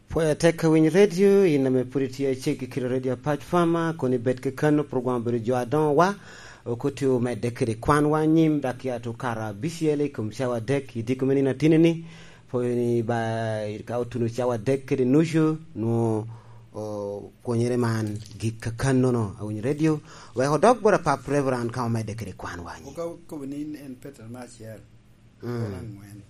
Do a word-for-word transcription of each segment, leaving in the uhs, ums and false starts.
Pwod atek ka winyo redio, in ame pwod itye acek i kite redio Apac Fama, kun ibed kekano, program obedo jo adoŋo wa, okutio medde kede kwan wa anyim, dok ya to kara abicel i kom cawa adek, i diko me nino atini-ni, pwod ni ba, ka otuno cawa adek kede nucu, nwo, o, kwonyere man gik kakannono, awinyo redio, wek odok bot apap Reverend ka omedde kede kwan wa anyim. Oka-, okobo ni en Petero me acel, mm, kor angwen.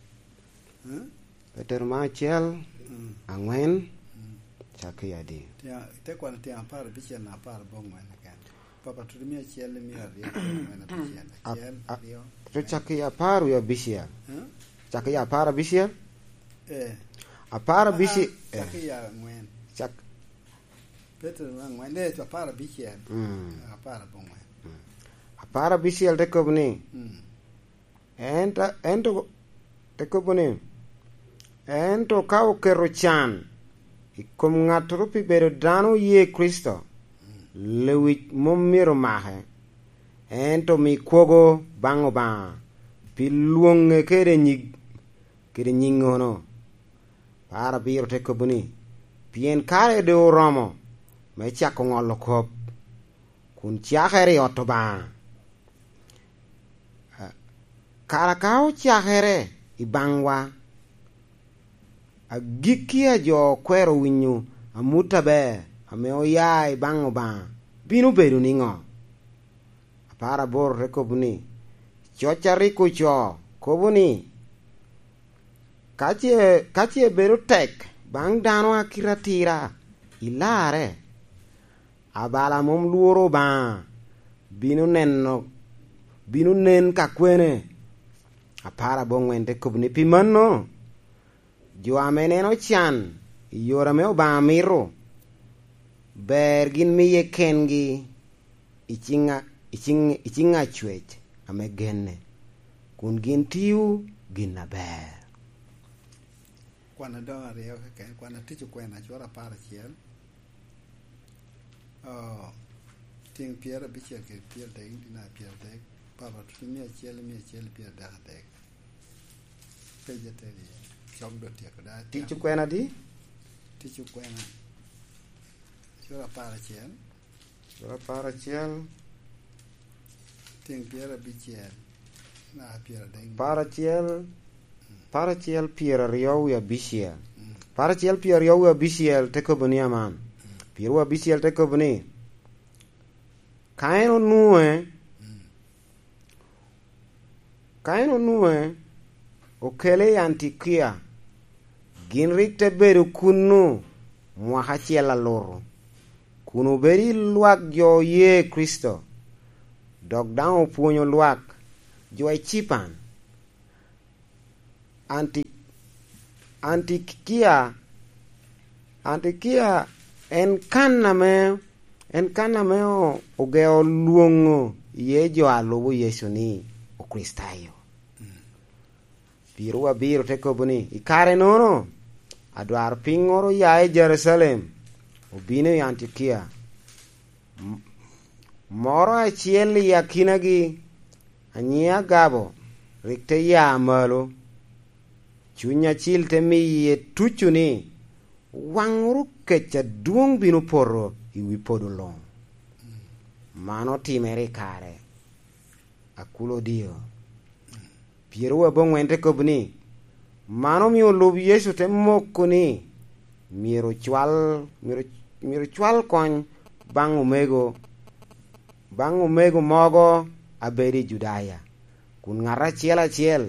Hmm? Petero me acel, mm, angwen, mm, cak i adi? Tye-, te kwano tyen apar abicel na apar aboŋwen keken. Papa tuti mia acel i mia aryo, angwen abicel. A-, acel, a-, aryo, te angwen. Cak i apar wie abicel. Hmm? Cak i apar abicel? Eh. Apar abicel, ah, ah, cak eh, i angwen. Cak. Petero me angwen, eh, apar abicel. Mm. Apar aboŋwen. Mm. Apar abicel te kobo ni, mm. Ento, ento te kobo ni, "Ento ka oketo can i kom ŋattoro pi bedo dano oye Kricito, lewic mom myero make, ento mi kwogo baŋ Obaŋa pi lwoŋe kede nyig, kede nyiŋono." Par abiro te kobo ni, "Pien kare doŋ oromo me cako ŋolo kop, kun cakere i ot Obaŋa." Kara ka ocakere i baŋwa, agikki a jo okwero winyo amut aber ame oya i baŋ Obaŋa bino bedo niŋo? Apar aboro te kobo ni, "Coc a rik ocoo kobo ni, 'Ka ce, ka ce bedo tek baŋ dano a kite atira, ilarre.'" Abala a mom lworo Obaŋa bino neno, bino nen ka kwene? Apar aboŋwen te kobo ni, "Pi mano, jo ame neno can i yore ame Obaŋa mito, ber gin miye kengi i ciŋ a-, i ciŋ, i ciŋ Acwec ame genne, kun gin tio gin aber." Kwan adoŋo aryo keken, kwan atic okwena, cura apar acel. Oh, tyeŋ pyerabicel kede pyeradek, dina pyeradek, Papa tuti mia acel, mia acel pyeradek adek. Peja teni, cok do tyeko da. Tic okwena di? Tic okwena. Cura apar acel. Cura apar acel. Tyeŋ pyerabicel, naka pyeradek. Apar acel, apar acel pyeraryo wie abicel. Mm. Apar acel pyeraryo wie abicel te kobo ni aman. Mm. Pyeraryo wie abicel te kobo ni, "Ka en onwoŋe, mm, ka en onwoŋe, okele i Antiokia, gin rik te bedo kunnu mwaka acel alutu, kun obedo i lwak jo oye Kricito, dok daŋ opwonyo lwak jo i Cipan." Anti-, Antikia, Antikia en kan ame, en kan ame o-, ogeo lwoŋo iye jo a lubo Yecu ni Okricitayo. Piro abiro te kobo ni, "I kare-nono, adwarpiny moro oya i Jerucalem, obino i Antiokia. M-, moro acel i akinagi, a nyiŋe Agabo, rik te ya malo. Cuny Acil te miye tuco ni, 'Waŋ wunu kec adwoŋ bino poto i wi podo luŋ.'" Man otimere i kare a Kulodio. Pyeraryo aboŋwen te kobo ni, "Man omio olub Yecu te moko ni myero ocwal, myero, myero ocwal kony baŋ omego, baŋ omego mogo a bedo i Judaya, kun ŋat acel acel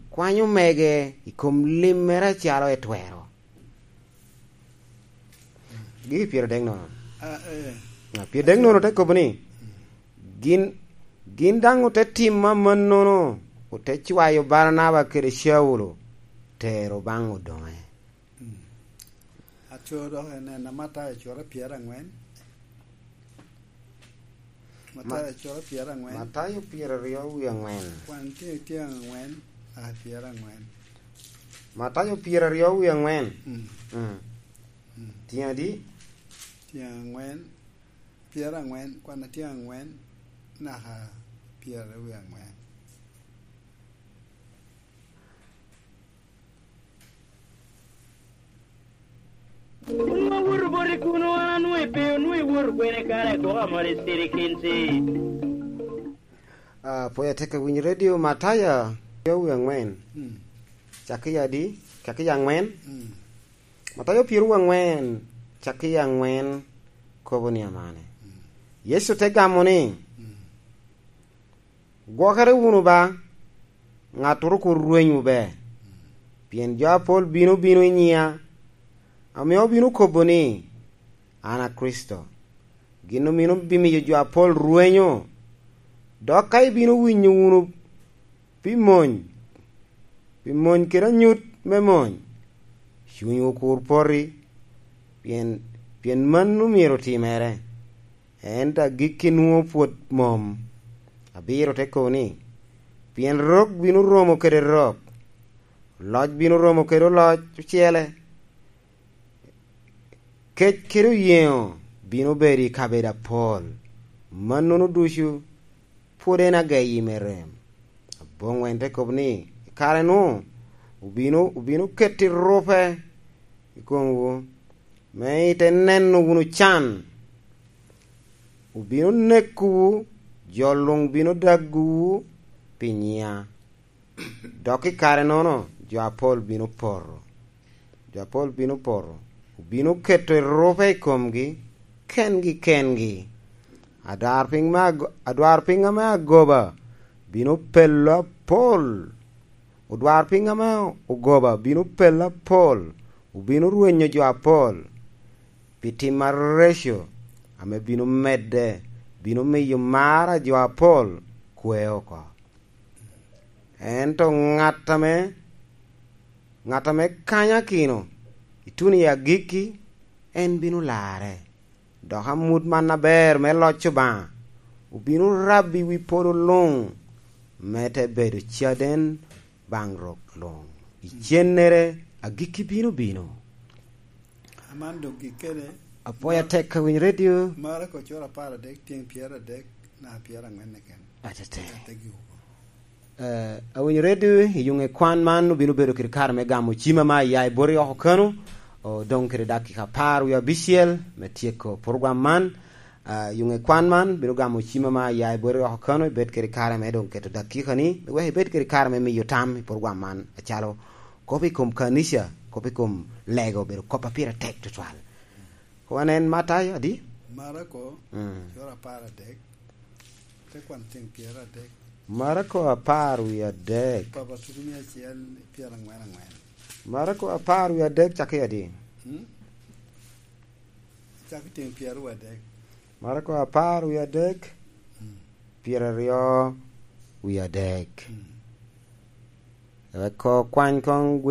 kwanyo mege i kom limmere acalo etwero." Gigi pyeradek nono. Ah, eh. Ah, pyeradek nono te kobo ni, "Gin, gin daŋ ote timo amannono, ote cwayo Baranaba kede Caulo tero baŋ odoŋe." Mm. Aco dok en, en Matayo cura pyerangwen. Matayo Ma-, cura pyerangwen. Matayo pyeraryo wie angwen. Kwan tye, tye angwen, ah, pyerangwen. Matayo pyeraryo wie angwen. Mm. Mm. Mm. Tye adi? Tye angwen, pyerangwen, kwan tye angwen, naka pyeraryo wie angwen. Kuno an anwoŋo i pe, onwoŋo iwoto kwene kare, koko amol i sirikinsi. Ah, pwod atye ka winyo redio Mataya, pyerowiye aŋwen. Mm. Cakki adi? Cakki aŋwen? Mm. Mataya pyerowiye aŋwen, cakki aŋwen, kobo ni amane. Mm. Yecu te gamo ni, mm, "Gwokere wunu ba, ŋattoro kur rwenywu be. Pien jo apol bino bino i nyiŋa, ame obino kobo ni, 'An a Kricito.' Gin omino bimiyo jo apol rwenyo. Dok ka ibino winyo wunu pi mony, pi mony kede anyut me mony, cunywu kur poti, pien, pien mano myero otimere. Ento agikki nwoŋo pwod mom." Abiro te kobo ni, "Pien rok bino romo kede rok, oloc bino romo kede oloc ocele, kec kede oyeŋo bino bedo i kabedo apol. Mannono ducu pwod en ageyi me rem." Aboŋwen te kobo ni, "I kare-nu, obino, obino keto erupe i komwu, me ite neno wunu can. Obino nekowu, jo luŋ bino dagowu pi nyiŋa. Dok i kare-nono, jo apol bino poto." Jo apol bino poto, obino keto erupe i komgi, kengi kengi. Adwarpiny me ago-, adwarpiny ame agoba bino pelo apol. Odwarpiny ame ogoba bino pelo apol, obino rwenyo jo apol. Pi tim areco ame bino medde, bino miyo mar a jo apol kwe oko. Ento ŋat ame, ŋat ame kanyakino ituno i agikki, en bino larre. Dok amut man aber me loc Obaŋa obino rabo i wi polo luŋ, me te bedo caden baŋ rok luŋ. Icennere agikki bino bino. Aman doŋ gik kene. Apwoyo atek ka winyo redio. Marako cura apar adek, tyeŋ pyeradek, na pyeraŋwen keken. Atete. Ategi oko. Eh, awinyo redio, i yuŋe kwan man obino bedo kede kare me gamo cima ma ya i boti oko kano, odoŋ kede dakika apar wie abicel me tyeko program man. Ah, yuŋe kwan man bino gamo cima ma ya i boti oko kano, ibed kede kare me doŋ keto dakika ni, wek ibed kede kare me miyo tam i program man, acalo kop i kom kanica, kop i kom lego, obedo kop a pire tek tutwal. Wan en Matayo adi? Marako, mm, cura apar adek, te kwan tyeŋ pyeradek. Marako apar wie adek. Papa tutu mia acel pyeraŋwen aŋwen. Marako apar wie adek cakki adi? Mm? Cakki tyeŋ pyeraryo adek. Marako apar wie adek, mm, pyeraryo wie adek. Mm. Eko kwany koŋ